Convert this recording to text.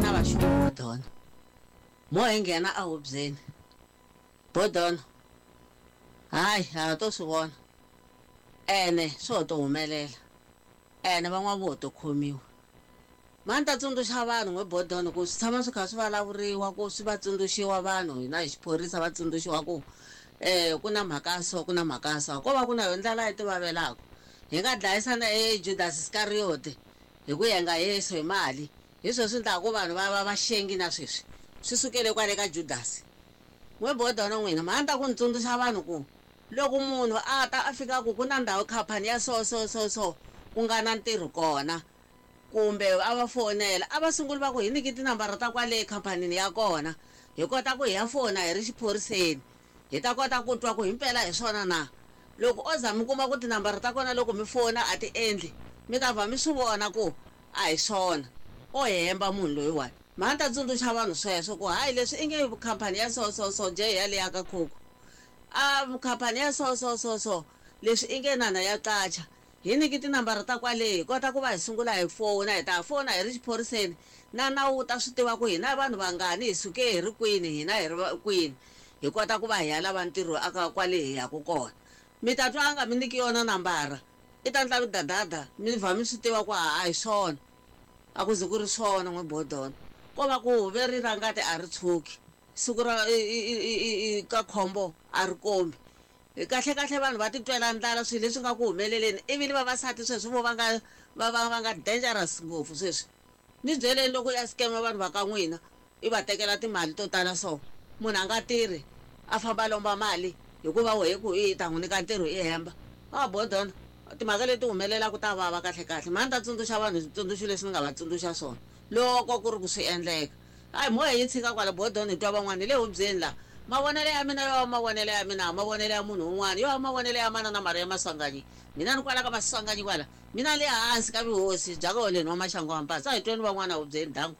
na vaxungu Bodono. Mo hi nghena ehubyeni. Bodono, Hayi, ha ha to swi vona. Ene swo ho to humelela. Ene van'wana vo ho to khomiwa. Ma ni ta tsundzuxa vanhu n'we Bodono ku swi tshama swi kha swi valavuriwa ku swi va tsundzuxiwa vanhu hina hi xiphorisa va tsundzuxiwa ku um ku na mhaka ya so ku na mhaka ya so. Ko va ku na yo ndlala yi tivavelaka. Hi nga dlayisana e Judas Iskariyoti hi ku yenga Yesu hi mali. Hi swona swi endlaka ku vanhu va va vaxengi na sweswi. Swi sukele kwale ka Judasi. N'we Bodono n'wina, mhani ta ku ni tsundzuxa vanhu ku loko munhu a ta a fika a ku ku na ndhawu khaphani ya so so so so ku nga na ntirho kona kumbe a va fonela a va sunguli va ku hi nyiki tinambara ta kwale khamphanini ya kona hi kota ku hi ya fona hi ri xiphoriseni hi ta kota ku twa ku himpela hi swona na. Loko o za mi kuma ku tinambara ta kona loko mi fona a ti endli mi ta vha mi swi vona ku A hi swona. O hemba munhu loyiwani. Mhani ta tsundzuxa vanhu sweswo ku hayi leswi i nge khampani ya so so so njhe yaleya ka Coco. A khampani ya so so so so leswi i nge nana ya qacha. Hi nyiki tinambara ta kwale hi kota ku va hi sungula hi fona hi ta fona hi ri xiphoriseni na nawu wu ta swi tiva ku hina i vanhu vangani hi suke hi ri kwini hina hi ri kwini hi kota ku va hi ya lava ntirho aka kwale hi yaku kona. Mi ta twa a nga mi nyiki yona nambara. I ta ndla midadada mi vha mi swi tiva ku a hi swona. A ku ze ku ri swona n'we Bodon. Ko va ku veri ra ngati a ri tshuki. Siku ra i ka khombo a ri kombi. Kahle-kahle vanhu va titwela ndlala swilo leswi nga ku humeleleni ivi ni vavasati sweswi vo va nga va va va nga dangerous ngopfu sweswi. Ni byeleni loko u ya scam-a vanhu va ka n'wina i va tekela timali to tala so. Munhu a nga tirhi a famba a lomba mali hikuva wehe ku i ta n'wi nyika ntirho i hemba. Ah Bodon, timhaka leti humelelaka ta vava kahle-kahle. Mhani ni ta tsundzuxa vanhu hi switsundzuxo leswi ni nga va tsundzuxa swona loko ku ri ku swi endleka. Hayi mo hi yi tshika kwala Bodon hi twa van'wana hi le hubyeni laha. Mavonelo ya mina yo va mavonelo ya mina, mavonelo ya munhu un'wana yo va mavonelo ya manana Maria Maswanganyi. Mina ni kwala ka Maswanganyi kwala. Mina le hansi ka vuhosi bya ka Holeni wa Maxangu wa Mpatsa. A hi tweni van'wana hubyeni. Danko.